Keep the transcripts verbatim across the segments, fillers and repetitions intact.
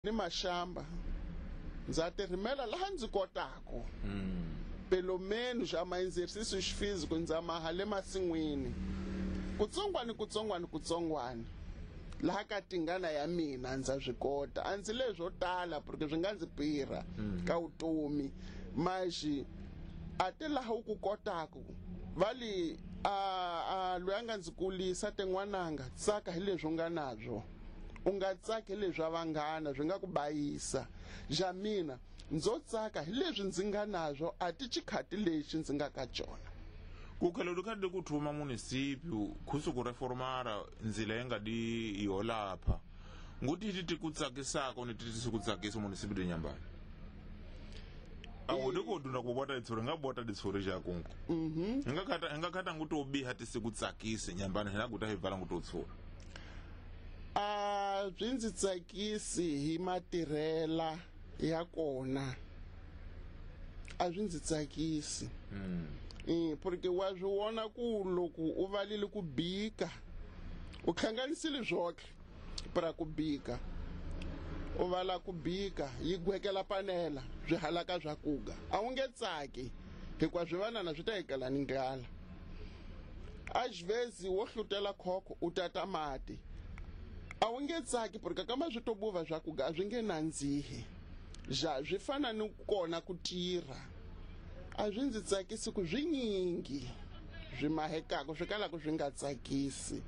Ni maxamba ndza tirimela laha ndzi kotaku. Pelo menos a ma exercícios físicos ndza maha le masin'wini kutsongwani kutsongwani kutsongwani laha ka tingana ya mina ndza swi kota. A ndzi leswo tala porque swi nga ndzi pirha ka vutomi, maxi a ti laha u ku kotaku va li a a loyi a nga ndzi kulisa tin'wananga, tsaka hi leswi u nga nabyo, u nga tsaki hi leswi vanghana swi nga ku bayisa. Ja mina ndzo tsaka hi leswi ndzi nga nabyo, a ti xikhati lexi ndzi nga ka xona. Kukhela lukhadi kuthuma munisípio khusu kureformara nzila engadi yolapha nguti ti tikutsakisako ni titi sikutsakisa munisípio de Inhambane awudi kodunda kubota ditsuri nga bota ditsuri jakungu mhm nga nga khata nguti obiha tisikutsakise Inhambane hina guta hivala nguti utsura. A byi ndzi tsakisi hi matirhela ya kona, a swi ndzi tsakisi. Mm. Eh, porque wa swi vona ku loko u valile ku bika u hlanganisile swotlhe pra ku bika, u vala ku bika yi gwekela panela swi halaka swa kuga, a wu nge tsaki hikuva swivanana swi ta hikela ni ndlala. Às vezes wo hlutela khokho u tata mati, a wu nge tsaki porque kama swi to buva swa kuga a swi nge nandzihi. Ja swi fana ni kona ku tirha, a swi ndzi tsakisi ku swinyingi swi mahekaka swi kalaka swi nga tsakisi.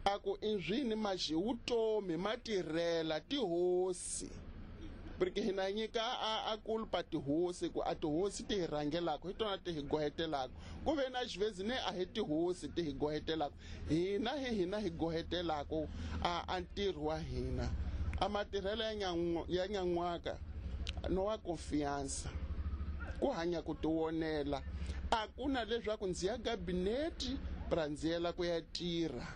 A ku i swini maxi vutomi matirhela tihosi, porque hina nyika a a kulpa tihosi ku a tihosi ti hi rhangelaka hi tona ti hi gohetelaka, ku ve na xivezi ne a hi tihosi ti hi gohetelaka, hina hi hina hi gohetelaka a a ntirho wa hina. A matirhelo ya nyan'wa ya nyan'waka no wa confiança ku hanya ku tionela, a ku na leswaku ndzi ya gabineti pra ndzi yela ku ya tirha.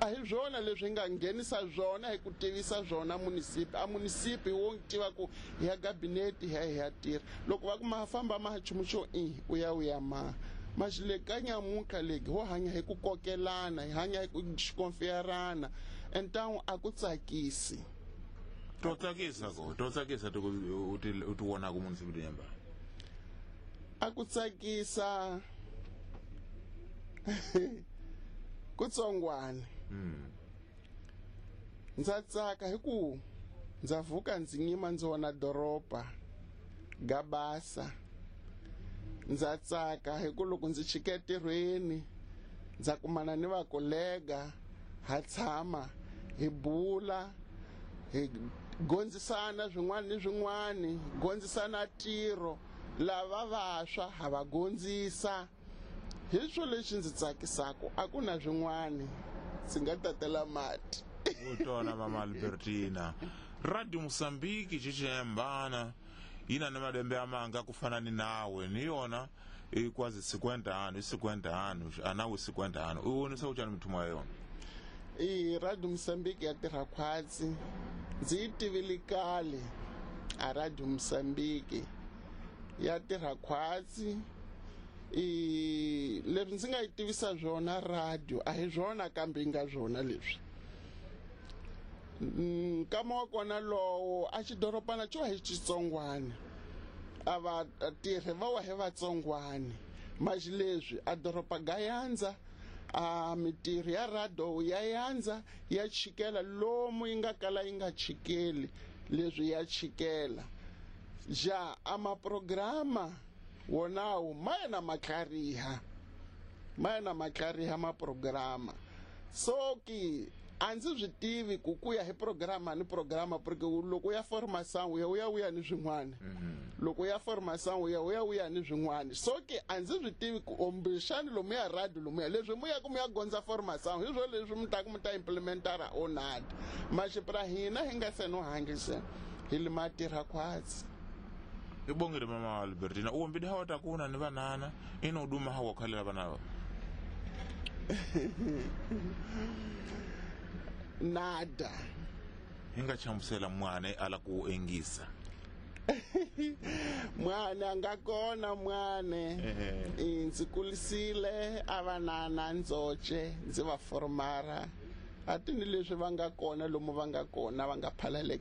A hi swona leswi hi nga nghenisa swona hi ku tivisa swona munisipi, a munisipi wo tiva ku hi ya gabineti hi ya hi ya tirha. Loko va ku ma famba ma nchumu xo i u ya u ya ma maxi le ka nyamuntlha legi ho hanya hi ku kokelana, hi hanya hi ku xikonfiyarana, então a ku tsakisi. To tsakisa ko to tsakisa ti u ti u ti vonaka munisípio de Inhambane? A ku tsakisa kutsongwana. Mm. Ndza tsaka hi ku ndza vuka ndzi nyima ndzi vona doroba gabasa. Ndza tsaka hi ku loko ndzi chika entirhweni ndza kumana ni vakolega, ha tshama hi bula, hi gondzisana swin'wana ni swin'wana, gondzisana ntirho, lava vantshwa ha va gondzisa. Hi swo lexi ndzi tsakisaka, a ku na swin'wana ndzi nga tatela mati. Utona mama Albertina, Radio Mozambique chichiyambana yina na malembe amanga kufana ni nawe ni yona ikwazi cinquenta anos cinquenta anos anawe cinquenta anos uwonisa uchani muthumo wa yona? I Radio Mozambique ya tirha khwatsi, ndzi yi tivile kale a Radio Mozambique ya tirha khwatsi. I leswi ndzi nga yi tivisa swona radio a hi swona kambe yi nga swona leswi. Nkama wa kona lowo a xidorobana xo hi xitsongwana, a va tirhi va wa hi vatsongwana, maxi leswi a doroba ga yandza, a mitirho ya radio ya yandza ya chikela lomu yi nga kala yi nga chikeli leswi ya chikela. Ja a maprograma wonawo ma ya na matlhariha, ma ya na matlhariha maprograma. So ki a ndzi swi tivi ku ku ya hi programa ni programa, porque loko u ya formação u ya u ya u ya ni swin'wana, loko u ya formação u ya u ya u ya ni swin'wana. So ki a ndzi swi tivi ku ombixani lomu ya radio lomu ya leswi mu ya ku mu ya gondza formação hi swo leswi mi ta ku mi ta implementara onati maxipra hina hi nga se no hangise hi li matirha khwatsi. Ibongile mama Albertina, uwombidi hawa takuna ni vanana ino uduma hawa khalela vana. Nada. Hinga chamusela mwana ala ku engisa. Mwana nga kona mwana. Ndzi kulisile avanana ndzoche ndzi va formara. Ati ni leswi va nga kona lomu va nga kona va nga phalaleke.